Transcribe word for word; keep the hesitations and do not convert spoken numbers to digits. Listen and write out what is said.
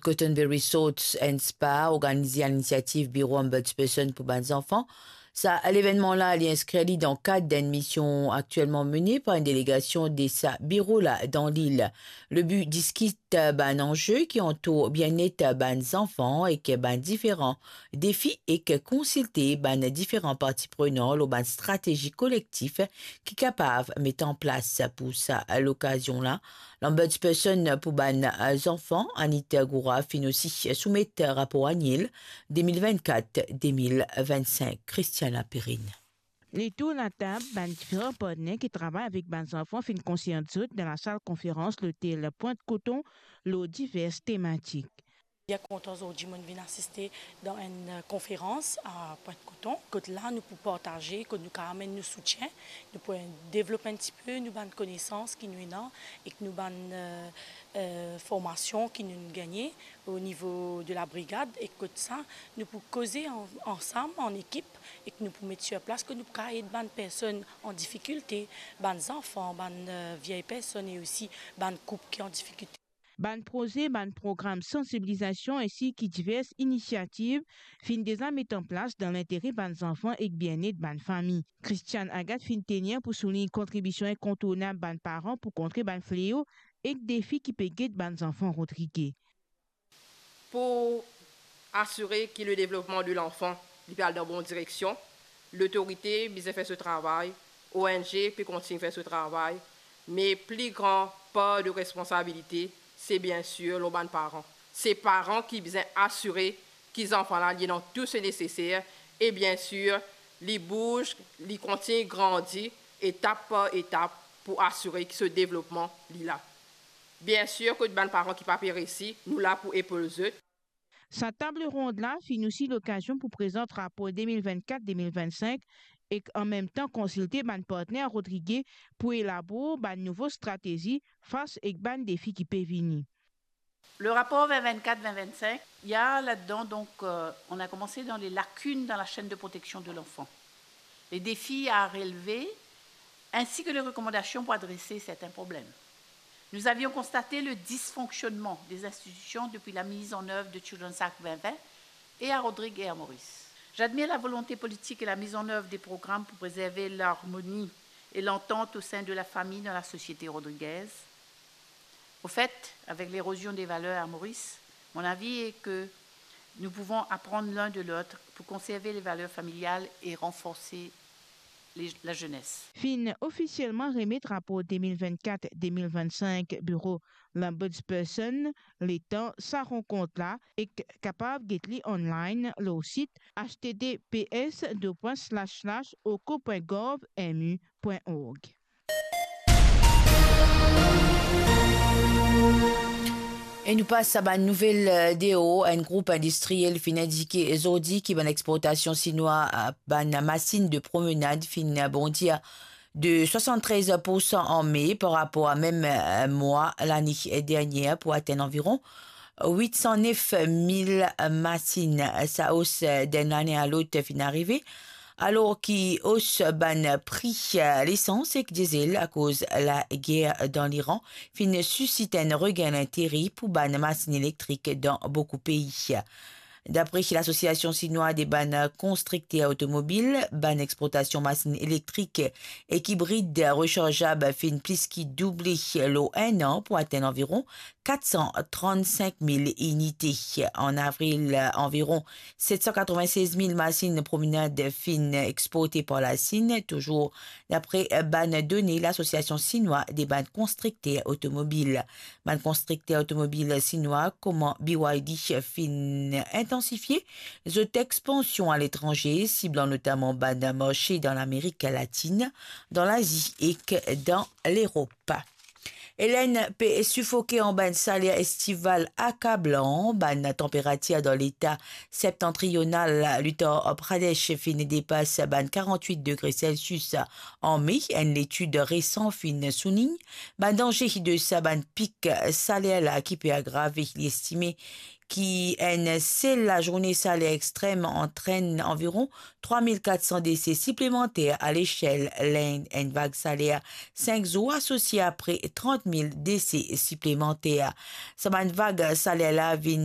Cottonberry Resorts and Spa organize a linisiativ Biro Ombudsperson pou bann zanfan. Sa levennman la, li inskrir li dan kad enn mision aktielman mene par enn delegasion de sa biro la dan lil. Le bi, diskit bann anze ki antour bienet bann zanfan ek bann diferan defi ek konsilte bann diferan parti prenan lor bann stratezi kolektif ki kapav met an plas pou sa lokazion la. Lombudsperson pou bann zanfan, Anita Goura, finn osi soumet rapor aniel de mil vennkat de mil vennsink. Christiana Perrine. Letour latab, bann diferan partner ki travay avek bann zanfan finn konsert zot dan lasal konferans lotel Pointe Coton lor divers tematik. Bien kontan zordi mo vinn asiste dan enn, eh, konferans a Pointe Coton. Kot la nou pou partaze, kot nou kapav amenn nou soutien, nou pou devlop enn tipe nou bann konesans ki nou ena ek nou bann, eh, eh, formasion ki nou gagne o nivo de la brigad, e kot sa nou pou koze an-, ansam, an ekip, ek nou pou met sir plas kot nou pou kapav ed bann personn an difikilte, bann zanfan, bann, eh, vye personn e osi bann koup ki an difikilte. Bann proze, bann program sansibilizasion ensi ki divers inisiativ finn deza met an plas dan lintere bann zanfan ek bienet bann fami. Christiane Agathe finn tenir pou soulign kontribision inkontournab bann paran pou kontre bann fleo ek defi ki pe get bann zanfan Rodrige. Pou asire ki le devlopman de lanfan, li pe al dan bon direksion, lotorite bizin fer so travay, O N G pe kontign fer so travay, me pli gran par de responsabilite, se biensir lor bann paran. Se paran ki bizin asire ki zanfan la, li ena tou se neseser, e biensir, li bouz, li kontign grandi etap par etap pou asire ki so devlopman, li la. Biensir, kot bann paran ki pa pe resi, nou la pou epol zot. Sa tab rond la finn osi lokazion pou prezant rapor de mil vennkat de mil vennsink ek anmemtan konsilte bann partner Rodrige pou elabor bann nouvo stratezi fas ek bann defi ki pe vini. Le rapport vingt vingt-quatre vingt vingt-cinq, il y a là-dedans, donc, euh, on a commencé dans les lacunes dans la chaîne de protection de l'enfant, les défis à relever, ainsi que les recommandations pour adresser certains problèmes. Nous avions constaté le dysfonctionnement des institutions depuis la mise en œuvre de Children's Act vingt vingt et à Rodrigues et à Maurice. J'admire la volonté politique et la mise en œuvre des programmes pour préserver l'harmonie et l'entente au sein de la famille dans la société rodriguaise. Au fait, avec l'érosion des valeurs à Maurice, mon avis est que nous pouvons apprendre l'un de l'autre pour conserver les valeurs familiales et renforcer les, la jeunesse. Finn ofisielman remet rapor de mil vennkat de mil vennsink biro Lombudsperson, letan sa rankont la, e kapav get li online lor sit H T T P S deux points slash slash oco point gov M U point org. E nou pas a bann nouvel, eh, deor. Enn group indistriel finn indike zordi ki bann exportasion sinwa, eh, bann masin de promenad finn bondir de swasann-trez poursan an me par rapor a mem, eh, mwa lane dernier pou atenn anviron wit san nef mil masin. Sa os, eh, d'enn lane a lot finn arive, alor ki os bann pri, eh, lesans ek dizel akoz lager dan Liran finn sisit enn regin lintere pou bann masin elektrik dan boukou pei. Dapre Lasosiasion Sinwa de bann Konstrikter Otomobil, bann exportasion masin elektrik ek ibrid resarzab finn plis ki double lor enn an pou atenn anviron kat san trann-sink mil inite. An avril, anviron set san katrovin-sez mil masin promenad finn exporte par Lasinn, touzour dapre bann done Lasosiasion Sinwa de bann Konstrikter Otomobil. Bann konstrikter otomobil sinwa kouma B Y D finn intansifie zot expansion aletranze, siblan notaman bann marse dan Lamerik Latin, dan Lazi ek dan Lerop. Hélène pe sifoke anba enn saler estival akablan. Bann tanperatir dan leta septantrional Uttar Pradesh finn depas bann karant-wit degre Celsius an me, enn letid resan finn soulign. Bann danze de sa bann pik saler la ki pe agrave, li estime ki enn sel lazourne saler extrem antrenn anviron trwa mil kat san dese siplemanter alesel Lind. Enn vag saler sink zour asosie a pre trant mil dese siplemanter. Sa bann vag saler la vinn